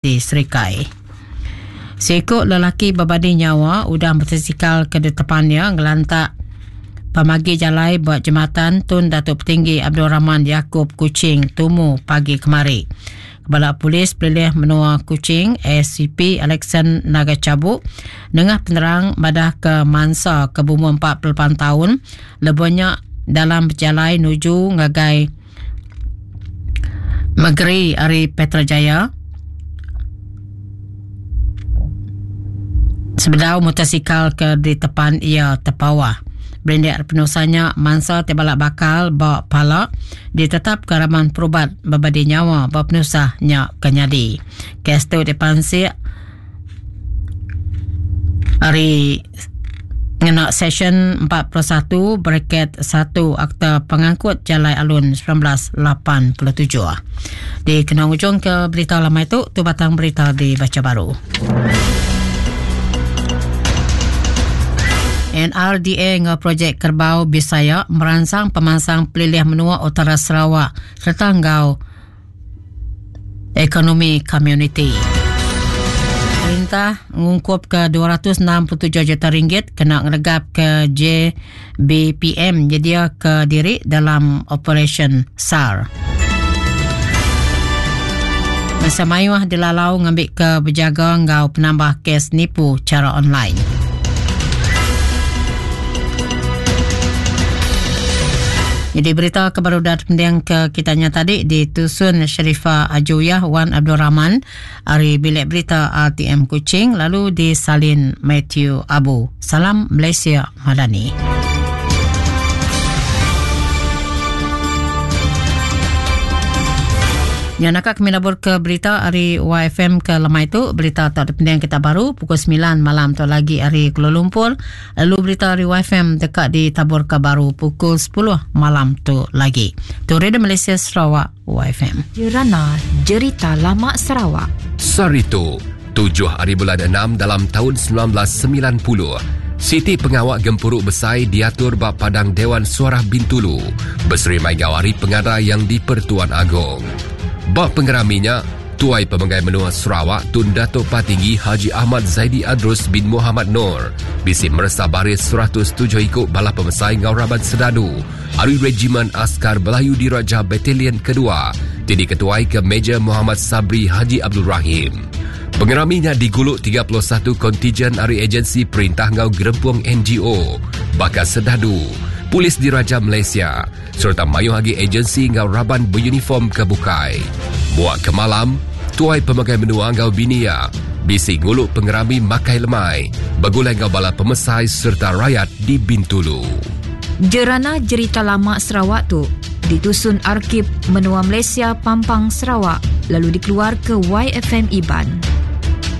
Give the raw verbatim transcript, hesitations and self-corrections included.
Di Serikai. Seikut lelaki berbadi nyawa udah motosikal ke depannya ngelantak pemagi jalai buat jembatan Tun Datuk Petinggi Abdul Rahman Yaakob Kuching tumu pagi kemari. Kepala Polis Pelilih Menua Kuching S C P Alexan Naga Cabuk nengah penerang madah ke mansa ke umur empat puluh lapan tahun lebihnya dalam berjalai nuju ngagai Negeri Ari Petra Jaya. Sebedau motosikal ke di tepan ia terpawah. Berindik penusahnya mansa tebalak bakal ba pala ditetap ke raman perubat berbadi nyawa ba penusahnya kenyadi. Kes tu dipansik hari ngena session empat puluh satu bracket satu Akta Pengangkut Jalai Alun seribu sembilan ratus lapan puluh tujuh. Di kena ujung ke berita lama itu, tu batang berita dibaca baru. N R D A ngau projek Kerbau Bisaya merangsang pemansang pelilih menua Utara Sarawak serta ngau ekonomi community. Perintah ngungkup ke dua ratus enam puluh tujuh juta ringgit kena ngeregap ke J B P M nyedia ke diri dalam operasi S A R. Masa mayuh dilalau ngambil ke berjaga ngau penambah kes nipu cara online. Jadi berita kebarudat pendiang ke kitanya tadi ditusun Sharifah Ajuyah Wan Abdul Rahman ari bilik berita R T M Kuching lalu disalin Matthew Abu. Salam Malaysia Madani. Ya, nak kami labur ke berita hari Y F M ke lemai tu, berita tak ada pendiang kita baru pukul sembilan malam tu lagi hari Kuala Lumpur. Lalu berita hari Y F M dekat di tabur ke baru pukul sepuluh malam tu lagi. Tu Radio Malaysia Sarawak Y F M. Jerana Jerita Lama Sarawak. Saritu, tujuh hari bulan enam dalam tahun sembilan belas sembilan puluh. Siti Pengawak Gempuruk Besai diatur bab Padang Dewan Suara Bintulu berseri Maigawari Pengada yang di Pertuan Agong. Bab pengeraminya, Tuai Pemegai Menua Sarawak Tun Datuk Patinggi Haji Ahmad Zaidi Adrus bin Muhammad Noor bisi meresa baris seratus tujuh ikut bala pemesai Ngau Raban Sedadu Ari Regimen Askar Melayu Diraja Batalion Kedua jadi ketuai ke Major Muhammad Sabri Haji Abdul Rahim. Pengeraminya diguluk tiga puluh satu kontijen ari agensi perintah Ngau Gerempung N G O, Bakar Sedadu, Polis Diraja Malaysia serta mayuh lagi agensi ngau raban beruniform ke bukai. Buat ke malam, Tuai Pemakai Menua ngau Binia, bisi nguluk pengerami makai lemai, begulai ngau bala pemesai serta rakyat di Bintulu. Jerana Jerita Lama Sarawak tu ditusun Arkib Menua Malaysia Pampang Sarawak lalu dikeluar ke Y F M Iban.